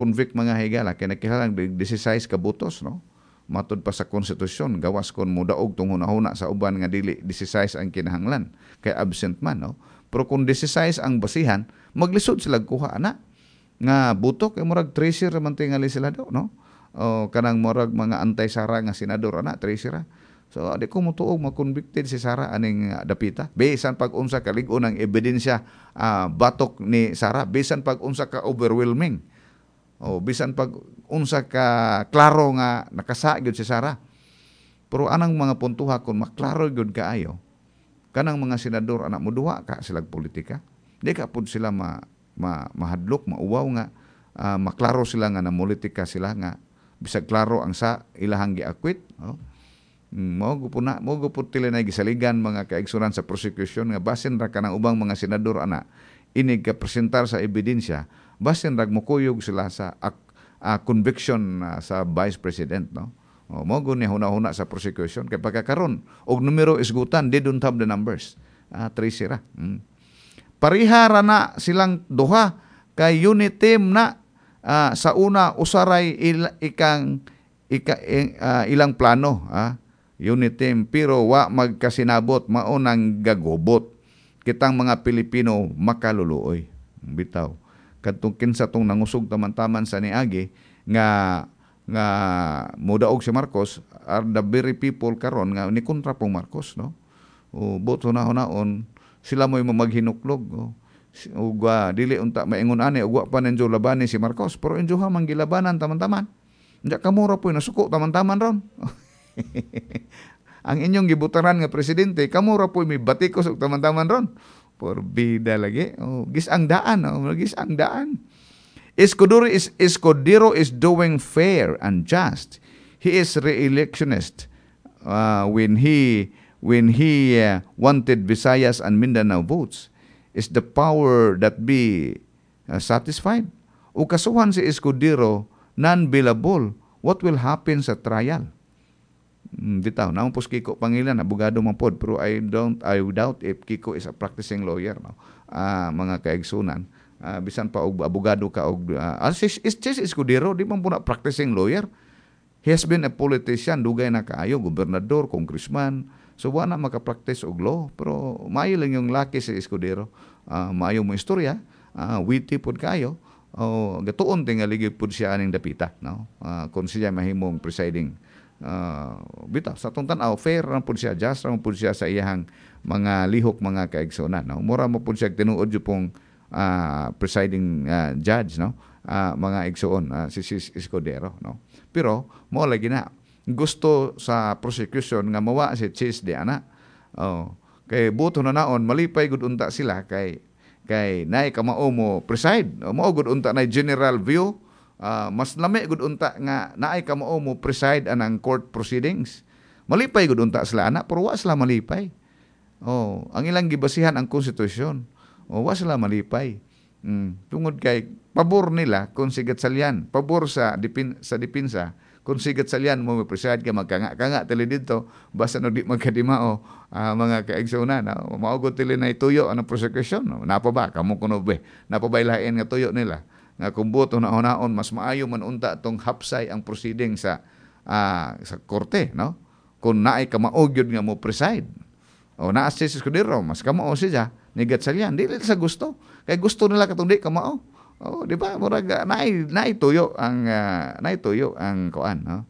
Convict, mga higala, kay nagkinahanglan 16 ka botos, no? Matud pa sa konstitusyon, gawas kon modaog tong hunahuna sa uban nga dili 16 ang kinahanglan kay absent man, no? Pero kung 16 ang basihan, maglisod sila kuha ana nga boto kay murag tracer man tingali sila do, no? O kanang murag mga anti-Sara nga senador ana, tracer ra. So di ko motuo ma-convicted si Sara aning dapita. Bisan pag unsa ka lig-on ang ebidensya batok ni Sara, bisan pag unsa ka overwhelming. O bisan pag unsa ka klaro nga nakasa gyud si Sara. Pero anang mga puntuha, kung maklaro gyud kaayo, kanang mga senador anak, moduwa ka sila politika. Di ka pud sila ma, ma mahadlok, mauwaw nga maklaro sila nga namulitika sila nga bisag klaro ang sa ilahang gi-acquit. Oh. Mao gud na, mao gud tila na gisaligan, mga kaigsunan, sa prosecution nga basin ra kanang ubang mga senador ana inig ka presentar sa ebidensya, basin ra mokuyog sila sa conviction sa vice president, no? Oh, mao gud ni huna-huna sa prosecution kay pagkakaron og numero isgutan, they don't have the numbers. Tracy ra. Pareha ra na silang duha kay unit team na sa una usaray il, ikang ika, ilang plano, unit team, pero wa magkasinabot, mao nang gagubot kitang mga Pilipino makaluluoy. Bitaw kadtong kinsa tong nangusog taman-taman sa niagi nga nga modaog si Marcos are the very people karon nga ni kontra pong Marcos, no? O boto na hunaon sila mo'y mamaghinuklog, oh. Ug dili unta maingon ani ug wa pa ninyo labani si Marcos, pero inyo ha man gilabanan taman-taman. Nya kamo ra po'y nasuko taman-taman ron. Ang inyong gibutaran nga presidente, kamo ra po'y may batikos og taman-taman ron. Porbida lagi. Oh, gis ang daan, oh, gis ang daan. Escudero is doing fair and just. He is re-electionist when he wanted Visayas and Mindanao votes. Is the power that be satisfied? O kasuhan si Escudero non-bailable, what will happen sa trial? Bitaw, naman po si Kiko Pangilan, abogado man pod, pero I don't, I doubt if Kiko is a practicing lawyer, no? Mga kaigsunan. Bisan pa og abogado ka og si Escudero di man po na practicing lawyer. He has been a politician, dugay na kaayo, gobernador, congressman. So wa na maka-practice og law, pero maayo lang yung laki si Escudero. Maayo mo istorya, witty pod kayo. Oh, gatuon tingali gyud pod siya aning dapita, no? Kung siya mahimong presiding, bitaw sa atong tan-aw, fair ra pud siya, just ra pud siya sa iyahang mga lihok, mga kaigsunan, no? Mura mo pud siya tinuod jud pong presiding judge, no? Mga igsuon, si Escudero, no? Pero mo lagi na gusto sa prosecution nga mawa si Chiz di ana. Oh, kay buto na naon malipay gud unta sila kay kay naay kamao mo preside. O, mao gud unta na general view, mas lami gud unta nga naay kamao mo preside anang court proceedings. Malipay gud unta sila ana, pero wa sila malipay. Oh, ang ilang gibasihan ang konstitusyon. Oh, wa sila malipay. Tungod kay pabor nila kung si Gatchalian, pabor sa dipinsa kung si Gatchalian mo preside ka magkanga-kanga tili dito basta no di magkadimao, mga kaigsunan, no? Mao gud tili na ituyo ang prosecution, no? Napa ba kamo kuno be, napa ba lain nga tuyo nila nga kung buto na hunaon mas maayo man unta tong hapsay ang proceeding sa korte, no? Kung naay kamao gyud nga mo preside o naa si Escudero, mas kamao siya ni Gatchalian. Dili sa gusto kay gusto nila katong di kamao. Oh, di ba? Murag naay tuyo ang kuan, no?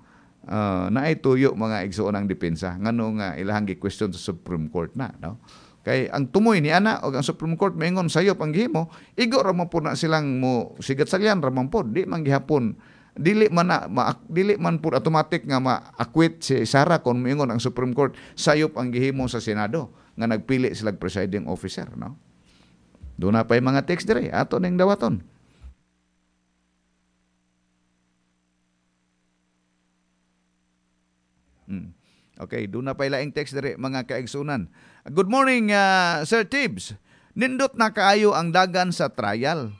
Naay tuyo, mga igsuon, ang depensa ngano nga ilahang gi-question sa Supreme Court na, no? Kay ang tumoy ni ana og ang Supreme Court moingon sayop ang gihimo, igo ra man po na silang mo si Gatchalian ra man pod, di man gihapon dili man na, dili man pud automatic nga ma-acquit si Sara kung moingon ang Supreme Court sayop ang gihimo sa Senado nga nagpili sila presiding officer, no? Doon na pa yung mga text dire ato ning dawaton. Okay, doon na pa laing text dire, mga kaigsunan. Good morning, Sir Tibbs. Nindot na kaayo ang dagan sa trial.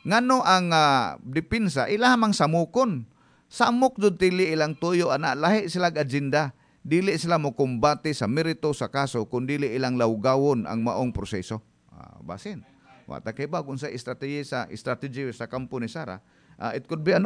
Ngano ang depensa ilaha mang samukon. Samok jud tili ilang tuyo ana, lahi sila agenda. Dili sila mo kumbate sa merito sa kaso kun dili ilang lawgawon ang maong proseso. Basin. Wa ta kay ba kung sa strategy sa kampo ni Sara, it could be an